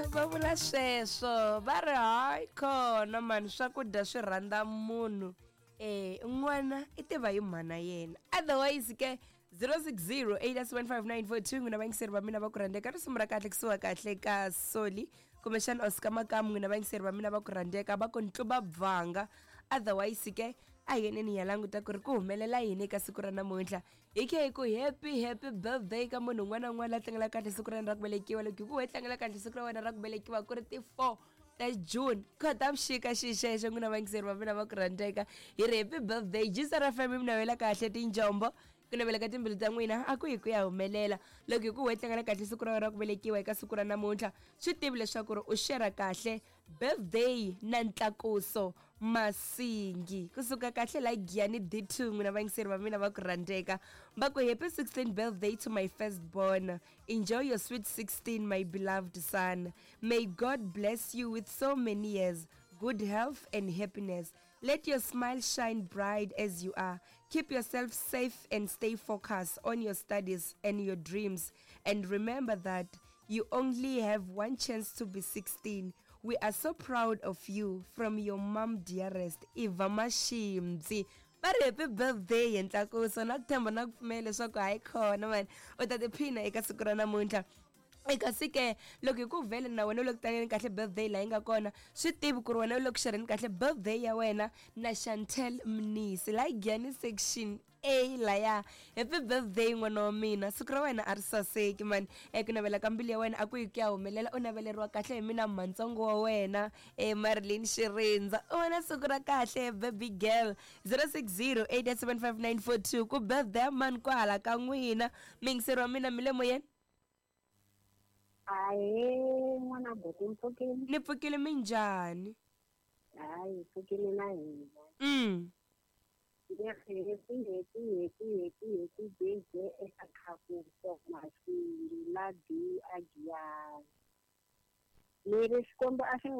Va vula sweswo va ri hayi khona mani swakudya swi rhandza munhu n'wana i tiva hi mhana yena. Otherwise ke 060 875 n'wina vayingiseri va mina va ku rhandzeka, risimu ra kahle kusuka kahle ka Soli kumbexana Oscar Makamu. N'wina vayingiseri va mina va ku rhandzeka, va ku ntluba bvanga. Otherwise ke a hi yeneni hi ya languta ku ri ku humelela yini eka siku ra namuntlha. Hi khe hi ku happy happy birthday ka munhu un'wana na un'wana la tlangela kahle siku ra yena ra ku velekiwa. Loko hi ku we tlangela kahle siku ra wena ra ku velekiwa ku ri ti 4 ta June, Khotavuxika xixexo, n'wina vayingiseri va mina va ku rhandzeka, hi ri happy birthday. Jisara FM mi navela kahle tinjombo, ku navela ka timbilu ta n'wina a ku hi ku ya humelela. Loko hi ku we tlangela kahle siku ra wena ra ku velekiwa eka siku ra namuntlha, swi tivi leswaku ri u shera kahle birthday na Ntlakuso Masingi kusuka kahle la Giyani D2. N'wina vayingiseri va mina va ku rhandzeka, va ku happy 16th birthday to my first born. Enjoy your sweet 16, my beloved son. May God bless you with so many years, good health and happiness. Let your smile shine bright as you are. Keep yourself safe and stay focused on your studies and your dreams. And remember that you only have one chance to be 16. We are so proud of you. From your mom, dearest Eva Mashimzi. Va ri happy birthday hi Ntlakuso, na ku tshemba na ku pfumela leswaku hayi khona mani u ta tiphina eka siku ra namuntlha. Kasi ke loko hi ku vhele na wena u le ku tlangeni kahle birthday laha yi nga kona, swi tivi ku ri wena u le ku xerheni kahle birthday ya wena na Chantel Mnisi laha Giyani section A laya. Happy birthday n'wana wa mina, siku ra wena a ri saseki mani. Eku navela ka mbilu ya wena a ku yi ku ya humelela, u naveleriwa kahle hi mina mhantsongo wa wena Marilyn Xirindza. U vona siku ra kahle, baby girl. 060 875 ku birthday ya mani kwahala ka n'wina, miyingiseri wa mina mi le moyeni? Ahee, n'wana buti, mpfukile? Ni pfukile, minjhani? Hayi, pfukile na hina. Ni ri happy happy happy happy happy birthday eka Khakuso Masingi la D a Giyani. Ni ri Xikwembu a xi n'wi